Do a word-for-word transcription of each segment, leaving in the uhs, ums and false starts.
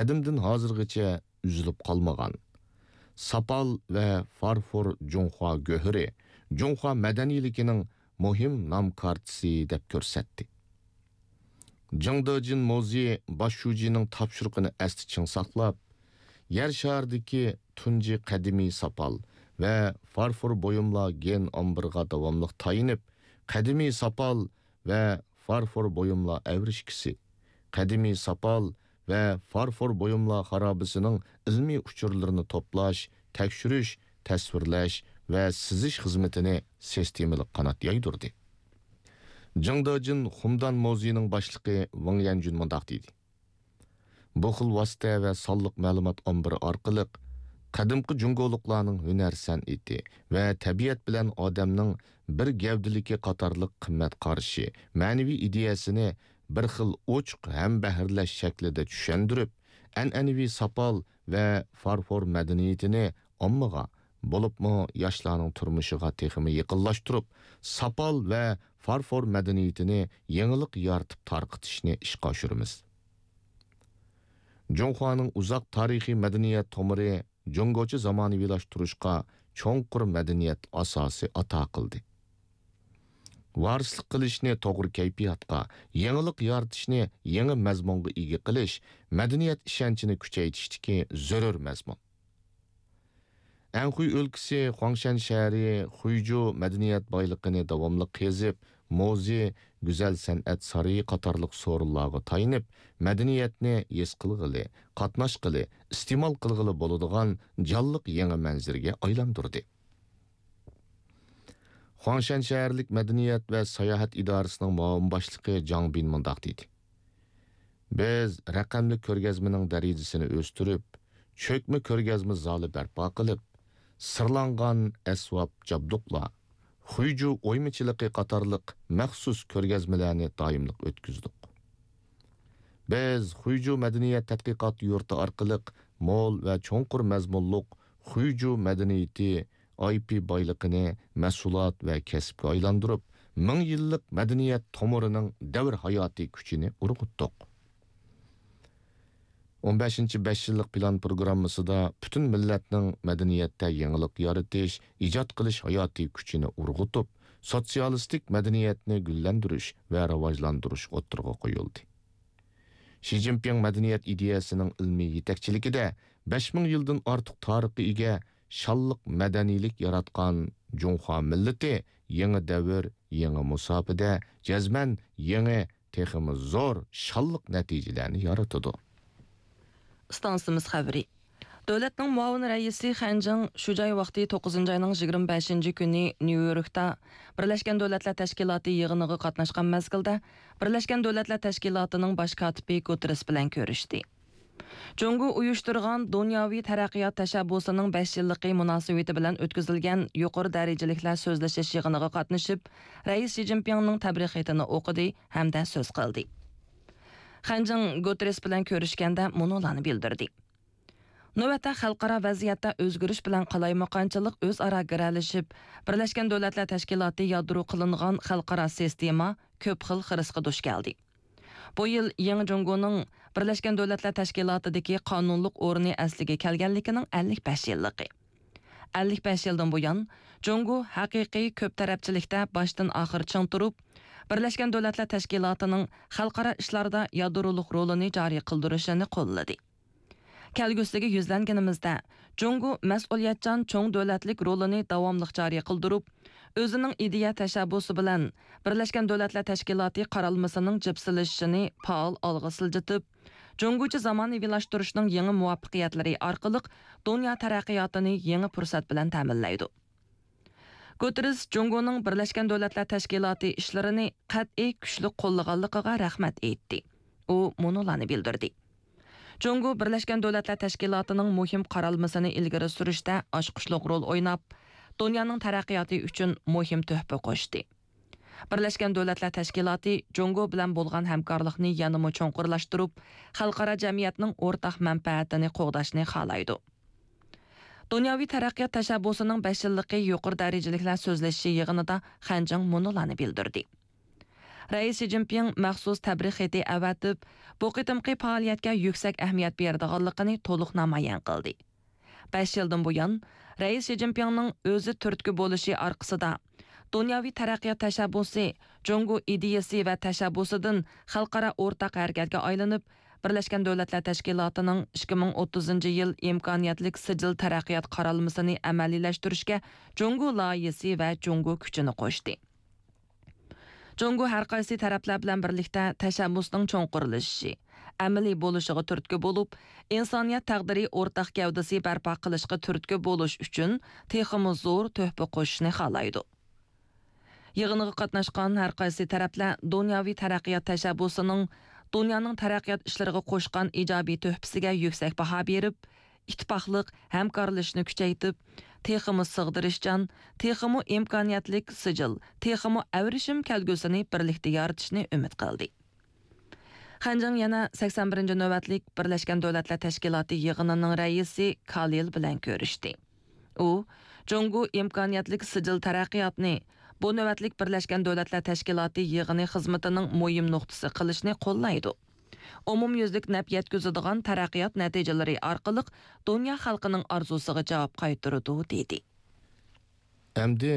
قەدىمدىن ھازىرغىچە ئۈزۈلۈپ قالمىغان. ساپال ۋە فارفور جۇڭخۇا گۆھىرى، جۇڭخۇا مەدەنىيلىكىنىڭ مۇھىم نام كارتىسى دەپ كۆرسەتتى. جېڭ دېجىن مۇزېيى باش شۇجىنىڭ تاپشۇرۇقىنى ئەستە چىڭ ساقلاپ، يەر شارىدىكى تۇنجى قەدىمىي ساپال ۋە فارفور بۇيۇملار گېن ئامبىرىغا داۋاملىق تايىنىپ، قەدىمىي ساپال ۋە فارفور بۇيۇملار ئەۋرىشكىسى، قەدىمىي ساپال ۋە فارفور بۇيۇملار خارابىسىنىڭ ئىلمىي ئۇچۇرلىرىنى توپلاش، تەكشۈرۈش، تەسۋىرلەش ۋە سىزىش خىزمىتىنى سىستېمىلىق قانات يايدۇردى. جېڭ دېجىن خۇمدان مۇزېيىنىڭ باشلىقى ۋېڭ يەنجۈن مۇنداق دېدى: بۇ خىل ۋاسىتە ۋە سانلىق مەلۇمات ئامبىرى ئارقىلىق قەدىمكى جۇڭگولۇقلارنىڭ ھۈنەر سەنئىتى ۋە تەبىئەت بىلەن ئادەمنىڭ بىر گەۋدىلىكى قاتارلىق قىممەت قارىشى، مەنىۋى ئىدىيەسىنى بىر خىل ئوچۇق ھەمبەھىرلەش شەكلىدە چۈشەندۈرۈپ، ئەنئەنىۋى ساپال ۋە فارفور مەدەنىيىتىنى ئاممىغا، بولۇپمۇ ياشلارنىڭ تۇرمۇشىغا تېخىمۇ يېقىنلاشتۇرۇپ، ساپال ۋە فارفور مەدەنىيىتىنى يېڭىلىق يارىتىپ تارقىتىشنى ئىشقا ئاشۇرىمىز. جۇڭخۇانىڭ ئۇزاق تارىخىي مەدەنىيەت تومۇرى جۇڭگوچە زامانىۋىلاشتۇرۇشقا چوڭقۇر مەدەنىيەت ئاساسى ئاتا قىلدى. ۋارىسلىق قىلىشنى توغرا كەيپىياتقا، يېڭىلىق يارىتىشنى يېڭى مەزمۇنغا ئىگە قىلىش مەدەنىيەت ئىشەنچىنى كۈچەيتىشتىكى زۆرۈر مەزمۇن. ئەنخۇي ئۆلكىسى خۇاڭشەن شەھىرى خۇيجۇ مەدەنىيەت بايلىقىنى داۋاملىق قېزىپ، مۇزېي، گۈزەل سەنئەت سارىيى قاتارلىق سورۇنلارغا تايىنىپ، مەدەنىيەتنى ھېس قىلغىلى، قاتناشقىلى، ئىستېمال قىلغىلى بولىدىغان جانلىق يېڭى مەنزىرىگە ئايلاندۇردى. خۇاڭشەن شەھەرلىك مەدەنىيەت ۋە ساياھەت ئىدارىسىنىڭ مۇئاۋىن باشلىقى جاڭ بىن مۇنداق دېدى: بىز رەقەملىك كۆرگەزمىنىڭ دەرىجىسىنى ئۆستۈرۈپ، چۆكمە كۆرگەزمە زالى بەرپا قىلىپ، سىرلانغان ئەسۋاب جابدۇقلار، خۇيجۇ ئويمىچىلىقى قاتارلىق مەخسۇس كۆرگەزمىلەرنى دائىملىق ئۆتكۈزدۇق. بىز خۇيجۇ مەدەنىيەت تەتقىقات يۇرتى ئارقىلىق مول ۋە چوڭقۇر مەزمۇنلۇق خۇيجۇ مەدەنىيىتى، ئاي پى بايلىقىنى مەھسۇلات ۋە كەسىپكە ئايلاندۇرۇپ، مىڭ يىللىق مەدەنىيەت تومۇرىنىڭ دەۋر ھاياتىي كۈچىنى ئۇرغۇتتۇق. ئون بەشىنچى بەش يىللىق پىلان پروگراممىسىدا پۈتۈن مىللەتنىڭ مەدەنىيەتتە يېڭىلىق يارىتىش، ئىجاد قىلىش ھاياتىي كۈچىنى ئۇرغۇتۇپ، سوتسىيالىستىك مەدەنىيەتنى گۈللەندۈرۈش ۋە راۋاجلاندۇرۇش ئوتتۇرىغا قويۇلدى. شى جىنپىڭ مەدەنىيەت ئىدىيەسىنىڭ ئىلمىي يېتەكچىلىكىدە بەش مىڭ يىلدىن ئارتۇق تارىخقا ئىگە شانلىق مەدەنىيلىك ياراتقان جۇڭخۇا مىللىتى يېڭى دەۋر، يېڭى مۇساپىدە جەزمەن يېڭى، تېخىمۇ زور شانلىق نەتىجىلەرنى يارىتىدۇ. ئىستانسىمىز خەۋىرى. دۆلەتنىڭ مۇئاۋىن رەئىسى خەنجىڭ شۇ جاي ۋاقتى توققۇزىنچى ئاينىڭ يىگىرمە بەشىنچى كۈنى نيۇ يوركتا بىرلەشكەن دۆلەتلەر تەشكىلاتى يىغىنىغا قاتناشقان مەزگىلدە، بىرلەشكەن دۆلەتلەر تەشكىلاتىنىڭ باش كاتىپى گۇتېررېس بىلەن كۆرۈشتى. جۇڭگو ئۇيۇشتۇرغان دۇنياۋى تەرەققىيات تەشەببۇسىنىڭ بەش يىللىقى مۇناسىۋىتى بىلەن ئۆتكۈزۈلگەن يۇقىرى دەرىجىلىكلەر سۆزلىشىش يىغىنىغا قاتنىشىپ، رەئىس شى جىنپىڭنىڭ تەبرىك خېتىنى ئوقۇدى ھەمدە سۆز قىلدى. خەنجىڭ گۇتېررېس بىلەن كۆرۈشكەندە مۇنۇلارنى بىلدۈردى. نۆۋەتتە خەلقئارا ۋەزىيەتتە ئۆزگىرىش بىلەن قالايمىقانچىلىق ئۆزئارا گىرەلىشىپ، بىرلەشكەن دۆلەتلەر تەشكىلاتى يادرو قىلىنغان خەلقئارا سىستېما كۆپ خىل خىرىسقا دۇچ كەلدى. بۇ يىل يېڭى جۇڭگونىڭ بىرلەشكەن دۆلەتلەر تەشكىلاتىدىكى قانۇنلۇق ئورنى ئەسلىگە كەلگەنلىكىنىڭ ئەللىك بەش يىللىقى. ئەللىك بەش يىلدىن بۇيان، جۇڭگو ھەقىقىي كۆپ تەرەپچىلىكتە باشتىن ئاخىر چىڭ تۇرۇپ، بىرلەشكەن دۆلەتلەر تەشكىلاتىنىڭ خەلقئارا ئىشلاردا يادرولۇق رولىنى جارى قىلدۇرۇشىنى قوللىدى. كەلگۈسىگە يۈزلەنگىنىمىزدە، جۇڭگو مەسئۇلىيەتچان چوڭ دۆلەتلىك رولىنى داۋاملىق جارى قىلدۇرۇپ، ئۆزىنىڭ ئىدىيە تەشەببۇسى بىلەن بىرلەشكەن دۆلەتلەر تەشكىلاتى قارالمىسىنىڭ جىپسىلىشىشىنى پائال ئالغا سىلجىتىپ، جۇڭگوچە زامانىۋىلاشتۇرۇشنىڭ يېڭى مۇۋەپپەقىيەتلىرى ئارقىلىق دۇنيا تەرەققىياتىنى يېڭى پۇرسەت بىلەن تەمىنلەيدۇ. گۇتېررېس جۇڭگونىڭ بىرلەشكەن دۆلەتلەر تەشكىلاتى ئىشلىرىنى قەتئىي كۈچلۈك قوللىغانلىقىغا رەھمەت ئېيتتى. ئۇ مۇنۇلارنى بىلدۈردى: جۇڭگو بىرلەشكەن دۆلەتلەر تەشكىلاتىنىڭ مۇھىم قارالمىسىنى ئىلگىرى سۈرۈشتە ئاچقۇچلۇق رول ئويناپ، دۇنيانىڭ تەرەققىياتى ئۈچۈن مۇھىم تۆھپە قوشتى. بىرلەشكەن دۆلەتلەر تەشكىلاتى جۇڭگو بىلەن بولغان ھەمكارلىقنى يەنىمۇ چوڭقۇرلاشتۇرۇپ، خەلقئارا جەمئىيەتنىڭ ئورتاق مەنپەئەتىنى قوغداشنى خالايدۇ. دۇنياۋى تەرەققىيات تەشەببۇسىنىڭ بەش يىللىقى يۇقىرى دەرىجىلىكلەر سۆزلىشىشى يىغىنىدا خەنجىڭ مۇنۇلارنى بىلدۈردى: رەئىس شى جىنپىڭ مەخسۇس تەبرىك خېتى ئەۋەتىپ، بۇ قېتىمقى پائالىيەتكە يۈكسەك ئەھمىيەت بېرىدىغانلىقىنى تولۇق نامايان قىلدى. بەش يىلدىن بۇيان، رەئىس شى جىنپىڭنىڭ ئۆزى تۈرتكە بولۇشى ئارقىسىدا، دۇنياۋى تەرەققىيات تەشەببۇسى، جۇڭگو ئىدىيەسى ۋە تەشەببۇسىدىن خەلقئارا ئورتاق ھەرىكەتكە ئايلىنىپ، بىرلەشكەن دۆلەتلەر تەشكىلاتىنىڭ ئىككى مىڭ ئوتتۇزىنچى يىل ئىمكانىيەتلىك سىجىل تەرەققىيات قارالمىسىنى ئەمەلىيلەشتۈرۈشكە جۇڭگو لايىھەسى ۋە جۇڭگو كۈچىنى قوشتى. جۇڭگو ھەر قايسى تەرەپلەر بىلەن بىرلىكتە تەشەببۇسنىڭ چوڭقۇرلىشىشى، ئەمەلىي بولۇشىغا تۈرتكە بولۇپ، ئىنسانىيەت تەقدىرى ئورتاق گەۋدىسى بەرپا قىلىشقا تۈرتكە بولۇش ئۈچۈن تېخىمۇ زور تۆھپە قوشۇشنى خالايدۇ. يىغىنغا قاتناشقان ھەر قايسى تەرەپلەر دۇنياۋى تەرەققىيات تەشەببۇسىنىڭ دۇنيانىڭ تەرەققىيات ئىشلىرىغا قوشقان ئىجابىي تۆھپىسىگە يۈكسەك باھا بېرىپ، ئىتتىپاقلىق، ھەمكارلىشىشنى كۈچەيتىپ، تېخىمۇ سىغدۇرۇشچان، تېخىمۇ ئىمكانىيەتلىك سىجىل، تېخىمۇ ئەۋرىشىم كەلگۈسىنى بىرلىكتە يارىتىشنى ئۈمىد قىلدى. خەنجىڭ يەنە سەكسەن بىرىنچى نۆۋەتلىك بىرلەشكەن دۆلەتلەر تەشكىلاتى يىغىنىنىڭ رەئىسى كالىل بىلەن كۆرۈشتى. ئۇ، جۇڭگو ئىمكانىيەتلىك سىجىل تەرەققىياتنى بۇ نۆۋەتلىك بىرلەشكەن دۆلەتلەر تەشكىلاتى يىغىنى خىزمىتىنىڭ مۇھىم نۇقتىسى قىلىشنى قوللايدۇ. ئومۇميۈزلۈك نەپ يەتكۈزىدىغان تەرەققىيات نەتىجىلىرى ئارقىلىق دۇنيا خەلقىنىڭ ئارزۇسىغا جاۋاب قايتۇرىدۇ، دېدى. ئەمدى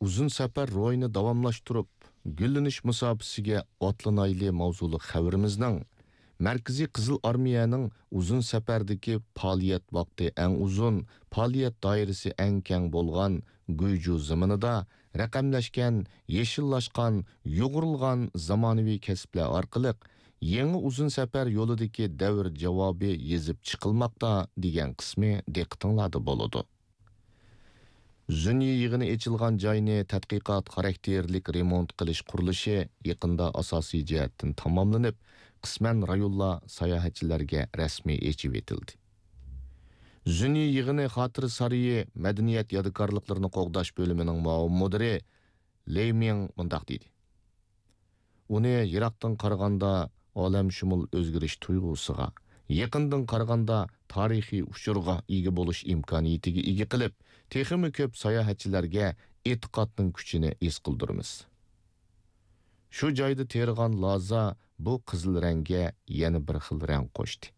ئۇزۇن سەپەر روھىنى داۋاملاشتۇرۇپ، گۈللىنىش مۇساپىسىگە ئاتلىنايلى ماۋزۇلۇق خەۋىرىمىزنىڭ مەركىزىي قىزىل ئارمىيەنىڭ ئۇزۇن سەپەردىكى پائالىيەت ۋاقتى ئەڭ ئۇزۇن، پائالىيەت دائىرىسى ئەڭ كەڭ بولغان گۇيجۇ زېمىنىدا رەقەملەشكەن، يېشىللاشقان، يۇغۇرۇلغان زامانىۋى كەسىپلەر ئارقىلىق يېڭى ئۇزۇن سەپەر يولىدىكى دەۋر جاۋابى يېزىپ چىقىلماقتا دېگەن قىسمى دىققىتىڭلاردا بولىدۇ. زۈنيى يىغىنى ئېچىلغان جاينى تەتقىقات خاراكتېرلىك رېمونت قىلىش قۇرۇلۇشى يېقىندا ئاساسىي جەھەتتىن تاماملىنىپ، قىسمەن رايونلار ساياھەتچىلەرگە رەسمىي ئېچىۋېتىلدى. زۈنيى يىغىنى خاتىرە سارىيى مەدەنىيەت يادىكارلىقلىرىنى قوغداش بۆلۈمىنىڭ مۇئاۋىن مۇدىرى لېي مىڭ مۇنداق دېدى. ئۇنى يىراقتىن قارىغاندا ئالەمشۇمۇل ئۆزگىرىش تۇيغۇسىغا، يېقىندىن قارىغاندا تارىخىي ئۇچۇرغا ئىگە بولۇش ئىمكانىيىتىگە ئىگە قىلىپ، تېخىمۇ كۆپ ساياھەتچىلەرگە ئېتىقادنىڭ كۈچىنى ھېس قىلدۇرىمىز. شۇ جايدا تېرىغان لازا بۇ قىزىل رەڭگە يەنە بىر خىل رەڭ قوشتى.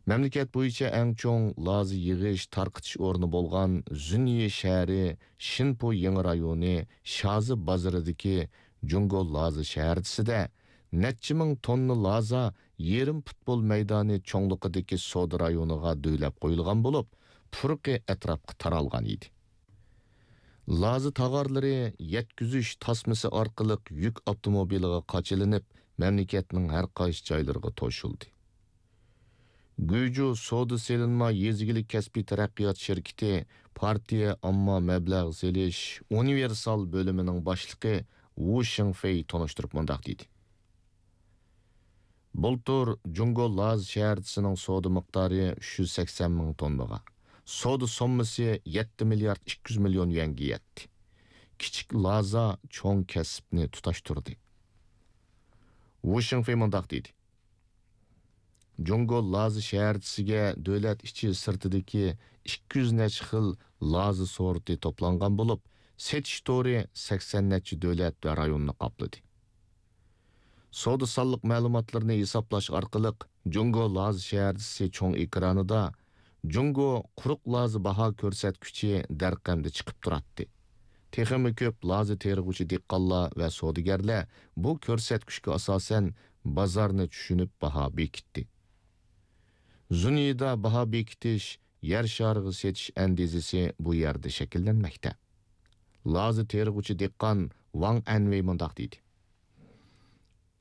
مەملىكەت بويىچە ئەڭ چوڭ لازا يىغىش، تارقىتىش ئورنى بولغان زۈنيى شەھىرى شىنپو يېڭى رايونى شازى بازىرىدىكى جۇڭگو لازا شەھەرچىسىدە نەچچە مىڭ توننا لازا يېرىم پۇتبول مەيدانى چوڭلۇقىدىكى سودا رايونىغا دۆۋىلەپ قويۇلغان بولۇپ، پۇرىقى ئەتراپقا تارالغان ئىدى. لازا تاغارلىرى يەتكۈزۈش تاسمىسى ئارقىلىق يۈك ئاپتوموبىلىغا قاچىلىنىپ، مەملىكەتنىڭ ھەر قايسى جايلىرىغا توشۇلدى. گۇيجۇ سودا سېلىنما يېزا ئىگىلىك كەسپىي تەرەققىيات شىركىتى پارتىيە ئامما مەبلەغ سېلىش ئۇنىۋېرسال بۆلۈمىنىڭ باشلىقى ۋۇ شىڭفېي تونۇشتۇرۇپ مۇنداق دېدى. بۇلتۇر جۇڭگو لازا شەھەرچىسىنىڭ سودا مىقدارى ئۈچ يۈز سەكسەن مىڭ توننىغا، سودا سوممىسى يەتتە مىليارد ئىككى يۈز مىليون يۈەنگە يەتتى. كىچىك لازا چوڭ كەسىپنى تۇتاشتۇردى. ۋۇ شىڭفېي مۇنداق دېدى. جۇڭگو لازا شەھەرچىسىگە دۆلەت ئىچى سىرتىدىكى ئىككى يۈز نەچچە خىل لازا سورتى توپلانغان بولۇپ، سېتىش تورى سەكسەن نەچچە دۆلەت ۋە رايوننى قاپلىدى. سودا سانلىق مەلۇماتلىرىنى ھېسابلاش ئارقىلىق، جۇڭگو لازا شەھەرچىسى چوڭ ئېكرانىدا جۇڭگو قۇرۇق لازا باھا كۆرسەتكۈچى دەرقەمدە چىقىپ تۇراتتى. تېخىمۇ كۆپ لازا تېرىغۇچى دېھقانلار ۋە سودىگەرلەر بۇ كۆرسەتكۈچكە ئاساسەن بازارنى چۈشىنىپ باھا بېكىتتى. زۇنيىدا باھا بېكىتىش، يەر شارىغا سېتىش ئەندىزىسى بۇ يەردە شەكىللەنمەكتە. لازا تېرىغۇچى دېھقان ۋاڭ ئەنۋېي مۇنداق دېدى.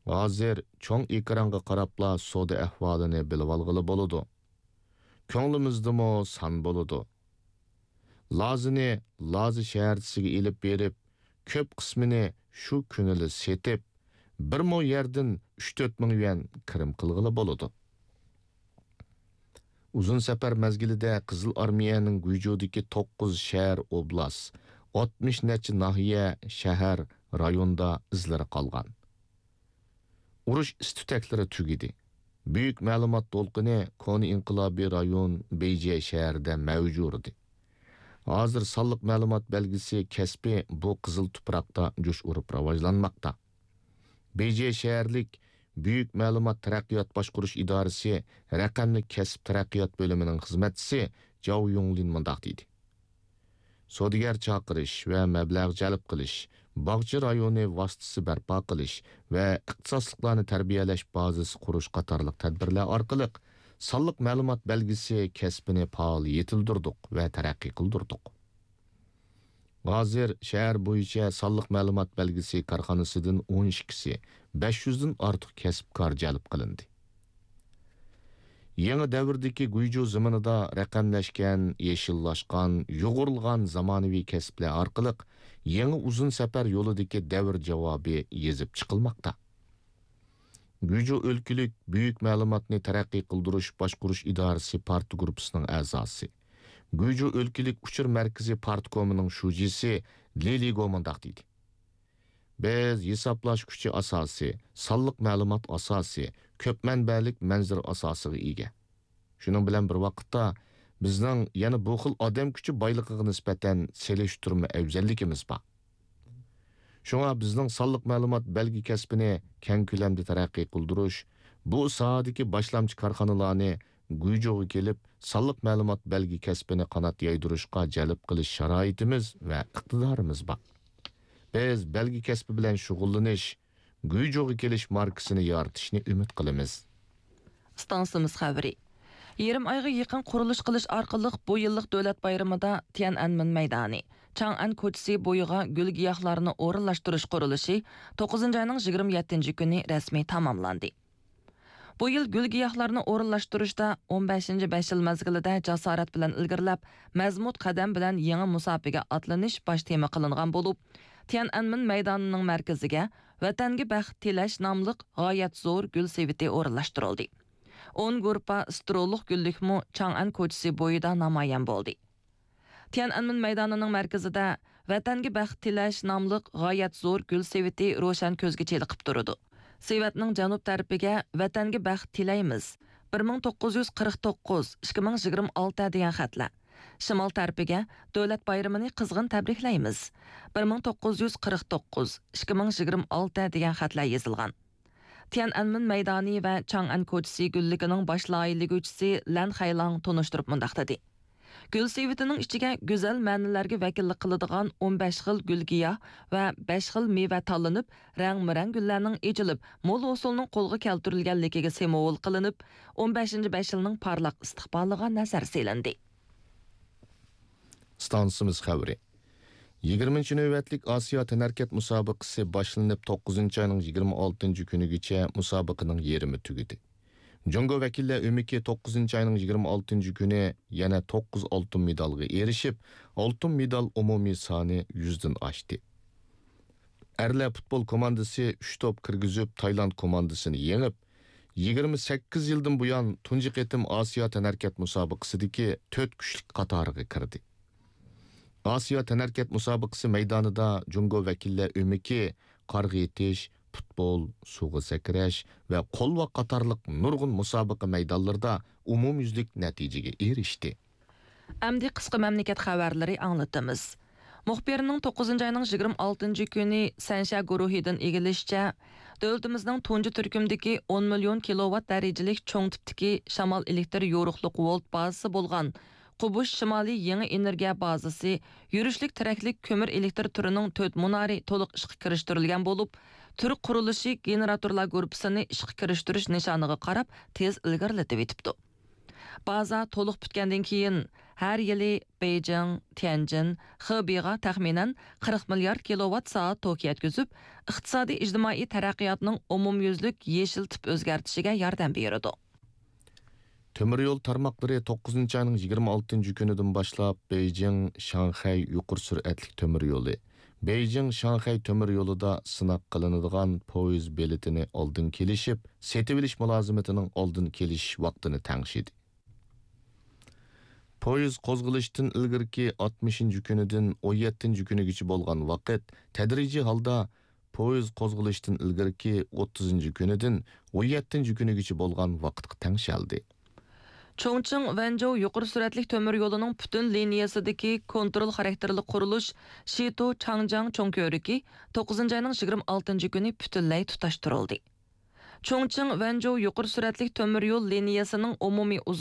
ھازىر چوڭ ئېكرانغا قاراپلا سودا ئەھۋالىنى بىلىۋالغىلى بولىدۇ. كۆڭلىمىزدىمۇ سان بولىدۇ. لازىنى لازا شەھەرچىسىگە ئېلىپ بېرىپ، كۆپ قىسمىنى شۇ كۈنىلا سېتىپ، بىر مو يەردىن ئۈچ تۆت مىڭ يۈەن كىرىم قىلغىلى بولىدۇ. ئۇزۇن سەپەر مەزگىلىدە قىزىل ئارمىيەنىڭ گۇيجۇدىكى توققۇز شەھەر، ئوبلاست، ئاتمىش نەچچە ناھىيە، شەھەر، رايوندا ئىزلىرى قالغان. ئۇرۇش ئىس-تۈتەكلىرى تۈگىدى. بۈيۈك مەلۇمات دولقۇنى كونا ئىنقىلابىي رايون بېيجىڭ شەھىرىدە مەۋج ئۇردى. ھازىر سانلىق مەلۇمات بەلگىسى كەسپى بۇ قىزىل تۇپراقتا جۇش ئۇرۇپ راۋاجلانماقتا. بېيجىڭ شەھەرلىك بۈيۈك مەلۇمات تەرەققىيات باشقۇرۇش ئىدارىسى رەقەملىك كەسىپ تەرەققىيات بۆلۈمىنىڭ خىزمەتچىسى جاۋ يۇڭلىن مۇنداق دېدى: سودىگەر چاقىرىش ۋە مەبلەغ جەلپ قىلىش، باغچە رايونى ۋاسىتىسى بەرپا قىلىش ۋە ئىختىساسلىقلارنى تەربىيەلەش بازىسى قۇرۇش قاتارلىق تەدبىرلەر ئارقىلىق سانلىق مەلۇمات بەلگىسى كەسپىنى پائال يېتىلدۈردۇق ۋە تەرەققىي قىلدۇردۇق. ھازىر شەھەر بويىچە سانلىق مەلۇمات بەلگىسى كارخانىسىدىن ئون ئىككىسى، بەش يۈزدىن ئارتۇق كەسىپكار جەلپ قىلىندى. يېڭى دەۋردىكى گۇيجۇ زېمىنىدا رەقەملەشكەن، يېشىللاشقان، يۇغۇرۇلغان زامانىۋى كەسىپلەر ئارقىلىق يېڭى ئۇزۇن سەپەر يولىدىكى دەۋر جاۋابى يېزىپ چىقىلماقتا. گۇيجۇ ئۆلكىلىك بۈيۈك مەلۇماتنى تەرەققىي قىلدۇرۇش باشقۇرۇش ئىدارىسى پارتگۇرۇپپىسىنىڭ ئەزاسى، گۇيجۇ ئۆلكىلىك ئۇچۇر مەركىزى پارتكومىنىڭ شۇجىسى لى لىگو مۇنداق دېدى: بىز ھېسابلاش كۈچى ئاساسى، سانلىق مەلۇمات ئاساسى، كۆپ مەنبەلىك مەنزىرە ئاساسىغا ئىگە. شۇنىڭ بىلەن بىر ۋاقىتتا، بىزنىڭ يەنە بۇ خىل ئادەم كۈچى بايلىقىغا نىسبەتەن سېلىشتۇرما ئەۋزەللىكىمىز بار. شۇڭا بىزنىڭ سانلىق مەلۇمات بەلگە كەسپىنى كەڭ كۆلەمدە تەرەققىي قىلدۇرۇش، بۇ ساھەدىكى باشلامچى كارخانىلارنى گۇيجۇغا كېلىپ، سانلىق مەلۇمات بەلگە كەسپىنى قانات يايدۇرۇشقا جەلپ قىلىش شارائىتىمىز ۋە ئىقتىدارىمىز بار. بىز بەلگە كەسپى بىلەن شۇغۇللىنىش، گۇيجۇغا كېلىش ماركىسىنى يارىتىشنى ئۈمىد قىلىمىز. ئىستانسىمىز خەۋىرى. يېرىم ئايغا يېقىن قۇرۇلۇش قىلىش ئارقىلىق بۇ يىللىق دۆلەت بايرىمىدا تيەنئەنمېن مەيدانى، چاڭئەن كوچىسى بويىغا گۈل گىياھلارنى ئورۇنلاشتۇرۇش قۇرۇلۇشى توققۇزىنچى ئاينىڭ يىگىرمە يەتتىنچى كۈنى رەسمىي تاماملاندى. بۇ يىل گۈل گىياھلارنى ئورۇنلاشتۇرۇشتا ئون بەشىنچى بەش يىل مەزگىلىدە جاسارەت بىلەن ئىلگىرىلەپ، مەزمۇت قەدەم بىلەن يېڭى مۇساپىگە ئاتلىنىش باش تېما قىلىنغان بولۇپ، تيەنئەنمېن مەيدانىنىڭ مەركىزىگە ۋەتەنگە بەخت تىلەش ناملىق غايەت زور گۈل سېۋىتى ئورۇنلاشتۇرۇلدى. ئون گۇرۇپپا سترولۇق گۈللۈكمۇ چاڭئەن كوچىسى بويىدا نامايان بولدى. تيەنئەنمېن مەيدانىنىڭ مەركىزىدە ۋەتەنگە بەخت تىلەش ناملىق غايەت زور گۈل سېۋىتى روشەن كۆزگە چېلىقىپ تۇرىدۇ. سېۋەتنىڭ جەنۇب تەرىپىگە ۋەتەنگە بەخت تىلەيمىز، بىر مىڭ توققۇز يۈز قىرىق توققۇز، ئىككى مىڭ يىگىرمە ئالتە دېگەن خەتلەر، شىمال تەرىپىگە دۆلەت بايرىمىنى قىزغىن تەبرىكلەيمىز، بىر مىڭ توققۇز يۈز قىرىق توققۇز، ئىككى مىڭ يىگىرمە ئالتە دېگەن خەتلەر يېزىلغان. تيەنئەنمېن مەيدانى ۋە چاڭئەن كوچىسى گۈللۈكىنىڭ باش لايىھىلىگۈچىسى لەن خەيلاڭ تونۇشتۇرۇپ مۇنداق دېدى: گۈل سېۋىتىنىڭ ئىچىگە گۈزەل مەنىلەرگە ۋەكىللىك قىلىدىغان ئون بەش خىل گۈل گىياھ ۋە بەش خىل مېۋە تاللىنىپ، رەڭمۇرەڭ گۈللەرنىڭ ئېچىلىپ، مول ھوسۇلنىڭ قولغا كەلتۈرۈلگەنلىكىگە سىمۋول قىلىنىپ، ئون بەشىنچى بەش يىلنىڭ پارلاق ئىستىقبالىغا نەزەر سېلىندى. ئىستانسىمىز خەۋىرى. يىگىرمىنچى نۆۋەتلىك ئاسىيا تەنھەرىكەت مۇسابىقىسى باشلىنىپ، توققۇزىنچى ئاينىڭ يىگىرمە ئالتىنچى كۈنىگىچە مۇسابىقىنىڭ يېرىمى تۈگىدى. جۇڭگو ۋەكىللەر ئۆمىكى توققۇزىنچى ئاينىڭ يىگىرمە ئالتىنچى كۈنى يەنە توققۇز ئالتۇن مېدالغا ئېرىشىپ، ئالتۇن مېدال ئومۇمىي سانى يۈزدىن ئاشتى. ئەرلەر پۇتبول كوماندىسى ئۈچ توپ كىرگۈزۈپ، تايلاند كوماندىسىنى يېڭىپ، يىگىرمە سەككىز يىلدىن بۇيان تۇنجى قېتىم ئاسىيا تەنھەرىكەت مۇسابىقىسىدىكى تۆت كۈچلۈك قاتارىغا كىردى. ئاسىيا تەنھەرىكەت مۇسابىقىسى مەيدانىدا جۇڭگو ۋەكىللەر ئۆمىكى، قارغا ئېتىش، پۇتبول، سۇغا سەكرەش ۋە قولۋاق قاتارلىق نۇرغۇن مۇسابىقە مەيدانلىرىدا ئومۇميۈزلۈك نەتىجىگە ئېرىشتى. ئەمدى قىسقا مەملىكەت خەۋەرلىرى ئاڭلىتىمىز. مۇخبىرنىڭ توققۇزىنچى ئاينىڭ يىگىرمە ئالتىنچى كۈنى سەنشيا گۇرۇھىدىن ئىگىلىشىچە، دۆلىتىمىزنىڭ تۇنجى تۈركۈمدىكى ئون مىليون كىلوۋات دەرىجىلىك چوڭ تىپتىكى شامال ئېلېكتىر يورۇقلۇق ۋولت بازىسى بولغان قۇبۇش شىمالىي يېڭى ئېنېرگىيە بازىسى يۈرۈشلۈك تىرەكلىك كۆمۈر ئېلېكتىر تۈرىنىڭ تۆت مۇنارى تولۇق ئىشقا كىرىشتۈرۈلگەن بولۇپ، تۈر قۇرۇلۇشى گېنېراتورلار گۇرۇپپىسىنى ئىشقا كىرىشتۈرۈش نىشانىغا قاراپ تېز ئىلگىرىلىتىۋېتىپتۇ. بازا تولۇق پۈتكەندىن كېيىن، ھەر يىلى بېيجىڭ، تيەنجىن، خېبېيغا تەخمىنەن قىرىق مىليارد كىلوۋات سائەت توك يەتكۈزۈپ، ئىقتىسادىي ئىجتىمائىي تەرەققىياتنىڭ ئومۇميۈزلۈك يېشىل تىپ ئۆزگەرتىشىگە ياردەم بېرىدۇ. تۆمۈر يول تارماقلىرى توققۇزىنچى ئاينىڭ يىگىرمە ئالتىنچى كۈنىدىن باشلاپ بېيجىڭ، شاڭخەي يۇقىرى سۈرئەتلىك تۆمۈر يولى، بېيجىڭ، شاڭخەي تۆمۈر يولىدا سىناق قىلىنىدىغان پويىز بېلىتىنى ئالدىن كېلىشىپ، سېتىۋېلىش مۇلازىمىتىنىڭ ئالدىن كېلىشىش ۋاقتىنى تەڭشىدى. پويىز قوزغىلىشتىن ئىلگىرىكى ئاتمىشىنچى كۈنىدىن ئون يەتتىنچى كۈنىگىچە بولغان ۋاقىت تەدرىجىي ھالدا پويىز قوزغىلىشتىن ئىلگىرىكى ئوتتۇزىنچى كۈنىدىن ئون يەتتىنچى كۈنىگىچە بولغان ۋاقىتقا تەڭشەلدى. چۇڭچىڭ ۋەنجۇ يۇقىرى سۈرئەتلىك تۆمۈر يولىنىڭ پۈتۈن لىنىيەسىدىكى كونترول خاراكتېرلىك قۇرۇلۇش شىتۇ چاڭجياڭ چوڭ كۆۋرۈكى توققۇزىنچى ئاينىڭ يىگىرمە ئالتىنچى كۈنى پۈتۈنلەي تۇتاشتۇرۇلدى. چۇڭچىڭ ۋەنجۇ يۇقىرى سۈرئەتلىك تۆمۈر يول لىنىيەسىنىڭ ئومۇمىي